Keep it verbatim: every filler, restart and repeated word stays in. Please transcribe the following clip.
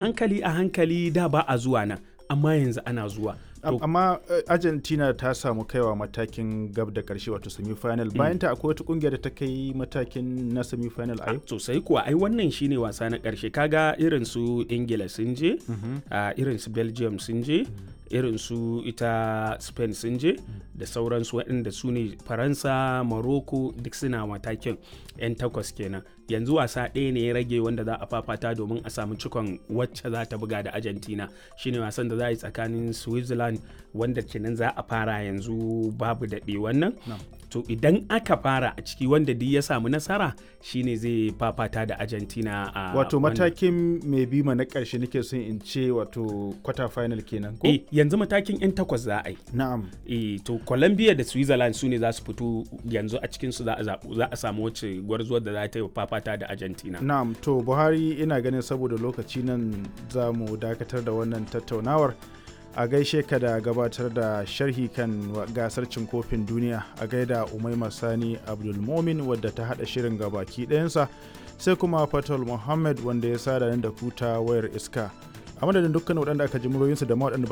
Hankali a hankali, da ba a zuwa nan, amma yanzu ana zuwa. Am- amma eh, Argentina ta samu kaiwa matakin gab da karshe, wato semi-final. Bayan ta akwai wata kungiya da ta kai matakin na semi-final a yau? Sosai kuwa, ai wannan shine wasa na ƙarshe. Kaga irin su Ingila sun je, a irin su Belgium sun je, irin su ita Spain sun je, da sauransu waɗanda su ne Faransa, Morocco, duk suna matakin 'yan takwas kenan. Yanzu wasa ɗaya ne ya rage wanda za a fafata domin a samu cikon wacce za ta buga da Argentina, shine wasan da za a yi tsakanin Switzerland, wanda kenan za a fara yanzu babu daɗe wannan. To idan aka fara a ciki, wanda duk ya samu nasara shine zai fafata da Argentina a Wato wannan. matakin mai bima na karshe nake son in ce, wato quarter final kenan ko? Eh, yanzu matakin 'yan takwas za a yi. Na'am. Eh, to Colombia da Switzerland su ne za su fito yanzu. A cikin su za a zaɓu, za a samu wacce gwarzuwar da za ta yi fafata da Argentina. Na'am, to Buhari, ina ganin saboda lokaci nan za mu dakatar da wannan tattaunawar. A gaishe ka da gabatar da sharhi kan wa- gasar cin kofin duniya. A gaida Umaima Sani Abdulmomin wadda ta haɗa shirin gabaki ɗayansa, sai kuma Fatal Muhammad wanda ya sada ni da kuta wayar iska. A madadin dukkan waɗanda aka ji muryoyinsu da ma waɗanda ba